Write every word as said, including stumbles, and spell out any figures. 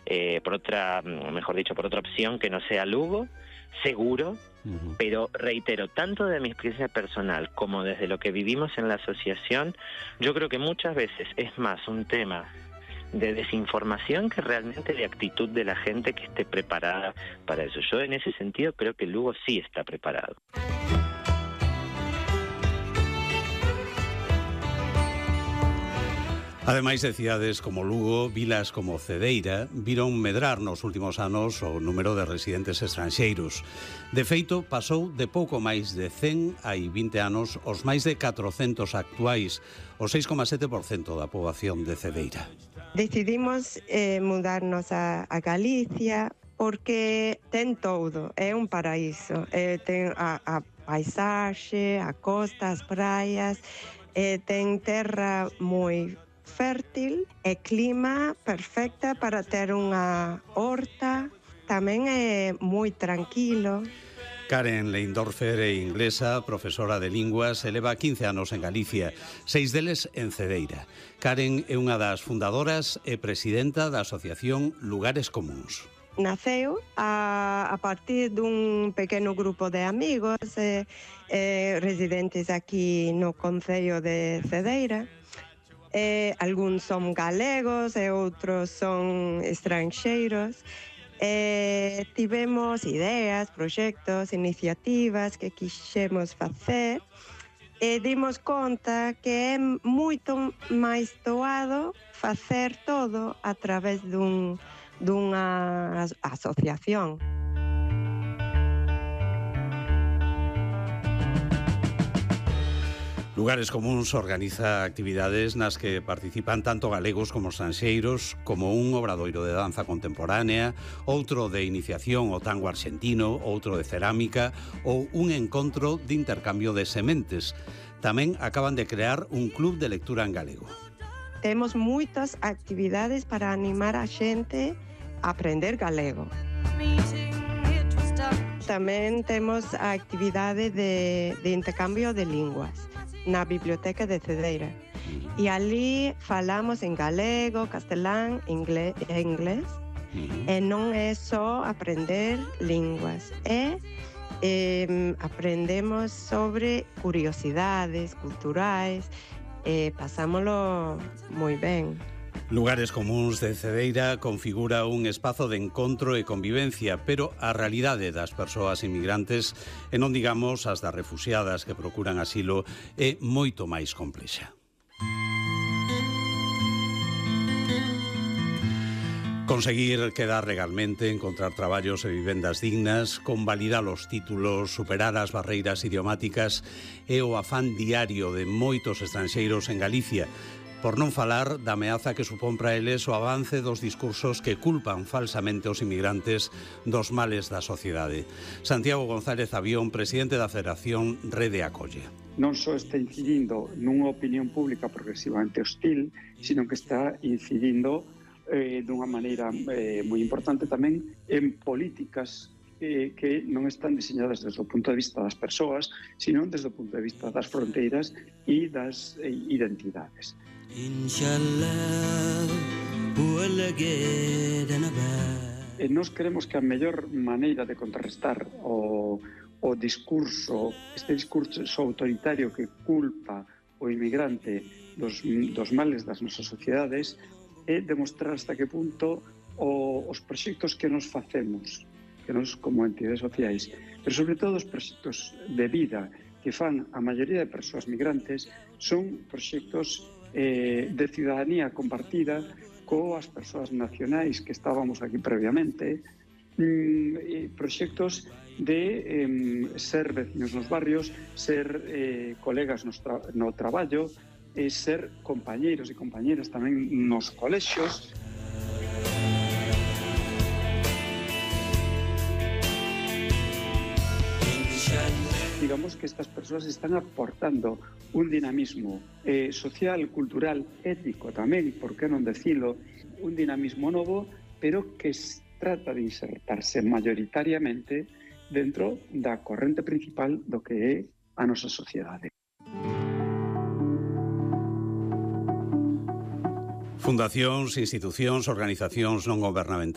eh, por otra, mejor dicho, por otra opción que no sea Lugo, seguro. Uh-huh. Pero reitero, tanto de mi experiencia personal como desde lo que vivimos en la asociación, yo creo que muchas veces es más un tema de desinformación que realmente de actitud de la gente que esté preparada para eso. Yo en ese sentido creo que Lugo sí está preparado. Ademais de cidades como Lugo, vilas como Cedeira viron medrar nos últimos anos o número de residentes estranxeiros. De feito, pasou de pouco máis de cen hai vinte anos os máis de catrocentos actuais, o seis coma sete por cento da poboación de Cedeira. Decidimos eh, mudarnos a, a Galicia porque ten todo, é un paraíso. Eh, ten a, a paisaxe, a costa, as praias, eh, ten terra moi fértil e clima perfecta para ter unha horta, tamén é moi tranquilo. Karen Leindorfer é inglesa, profesora de linguas, e leva quince anos en Galicia, seis deles en Cedeira. Karen é unha das fundadoras e presidenta da asociación Lugares Comúns. Naceu a, a partir dun pequeno grupo de amigos eh, eh, residentes aquí no concello de Cedeira. Eh, algúns son galegos e outros son estranxeiros. Eh, tivemos ideas, proxectos, iniciativas que quixemos facer e dimos conta que é moito máis doado facer todo a través dun, dunha asociación. Lugares Comúns organiza actividades nas que participan tanto galegos como estranxeiros, como un obradoiro de danza contemporánea, outro de iniciación ao tango arxentino, outro de cerámica ou un encontro de intercambio de sementes. Tamén acaban de crear un club de lectura en galego. Temos moitas actividades para animar a xente a aprender galego. Tamén temos a actividade de, de intercambio de linguas na Biblioteca de Cedeira. E ali falamos en galego, castelán inglés, e inglés. Uh-huh. E non é só aprender linguas, é eh, aprendemos sobre curiosidades culturais e pasámolo moi ben. Lugares Comúns de Cedeira configura un espazo de encontro e convivencia, pero a realidade das persoas inmigrantes, e non digamos as das refuxiadas que procuran asilo, é moito máis complexa. Conseguir quedar legalmente, encontrar traballos e vivendas dignas, convalidar os títulos, superar as barreiras idiomáticas é o afán diario de moitos estranxeiros en Galicia, por non falar da ameaza que supón para eles o avance dos discursos que culpan falsamente os inmigrantes dos males da sociedade. Santiago González Avión, presidente da Federación Rede Acolle. Non só está incidindo nunha opinión pública progresivamente hostil, sino que está incidindo eh, dunha maneira eh, moi importante tamén en políticas eh, que non están diseñadas desde o punto de vista das persoas, sino desde o punto de vista das fronteiras e das eh, identidades. E nós queremos que a mellor maneira de contrarrestar o, o discurso, este discurso autoritario que culpa o inmigrante dos, dos males das nosas sociedades, é demostrar hasta que punto o, os proxectos que nos facemos, que nos como entidades sociais, pero sobre todo os proxectos de vida que fan a maioría de persoas migrantes, son proxectos Eh, de ciudadanía compartida coas persoas nacionais que estábamos aquí previamente, mm, proxectos de eh, ser vecinos nos barrios, ser eh, colegas no, tra no traballo, eh, ser compañeiros e compañeras tamén nos colexios. Digamos que estas persoas están aportando un dinamismo eh, social, cultural, ético tamén, por que non decilo, un dinamismo novo, pero que se trata de insertarse mayoritariamente dentro da corrente principal do que é a nosa sociedade. Fundacións, institucións, organizacións non gobernamentais